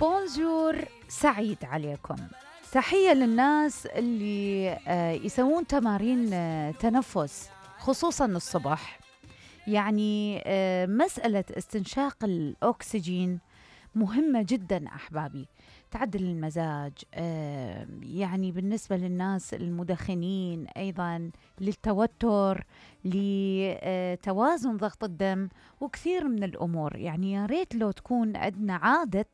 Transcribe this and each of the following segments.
بونجور، سعيد عليكم. تحية للناس اللي يسوون تمارين تنفس خصوصا الصبح. يعني مسألة استنشاق الأكسجين مهمة جدا أحبابي، تعدل المزاج، يعني بالنسبة للناس المدخنين، أيضا للتوتر، لتوازن ضغط الدم وكثير من الأمور. يعني يا ريت لو تكون عندنا عادة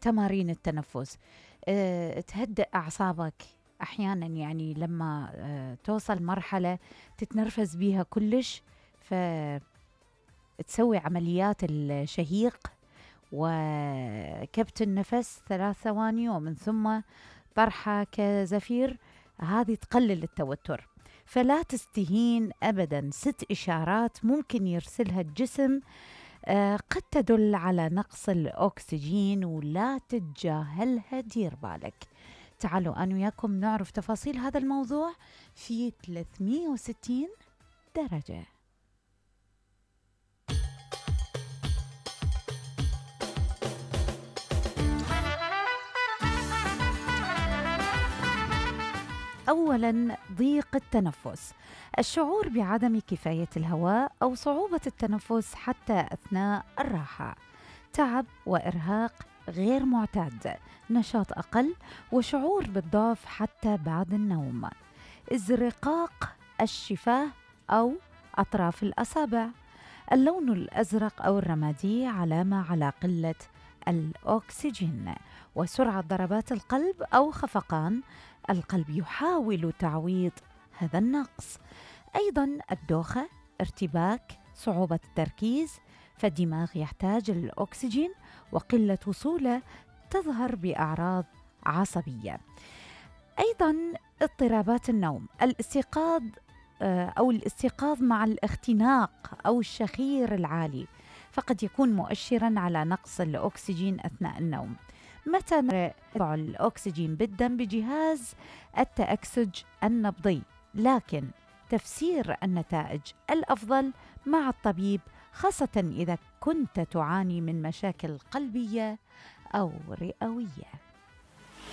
تمارين التنفس، تهدئ أعصابك. أحيانا يعني لما توصل مرحلة تتنرفز بيها كلش، فتسوي عمليات الشهيق وكبت النفس 3 ثواني ومن ثم طرحة كزفير، هذه تقلل التوتر. فلا تستهين أبدا، 6 إشارات ممكن يرسلها الجسم قد تدل على نقص الأكسجين ولا تتجاهلها، دير بالك. تعالوا أنا وياكم نعرف تفاصيل هذا الموضوع في 360 درجة. أولاً، ضيق التنفس، الشعور بعدم كفاية الهواء أو صعوبة التنفس حتى أثناء الراحة، تعب وإرهاق غير معتاد، نشاط أقل وشعور بالضعف حتى بعد النوم، ازرقاق الشفاه أو أطراف الأصابع، اللون الأزرق أو الرمادي علامة على قلة الأكسجين، وسرعة ضربات القلب أو خفقان القلب يحاول تعويض هذا النقص. أيضا الدوخة، ارتباك، صعوبة التركيز، فالدماغ يحتاج الأكسجين وقلة وصوله تظهر بأعراض عصبية. أيضا اضطرابات النوم، الاستيقاظ أو الاستيقاظ مع الاختناق أو الشخير العالي، فقد يكون مؤشرا على نقص الأكسجين أثناء النوم. متى نرفع الأكسجين بالدم بجهاز التأكسج النبضي، لكن تفسير النتائج الأفضل مع الطبيب، خاصة إذا كنت تعاني من مشاكل قلبية أو رئوية.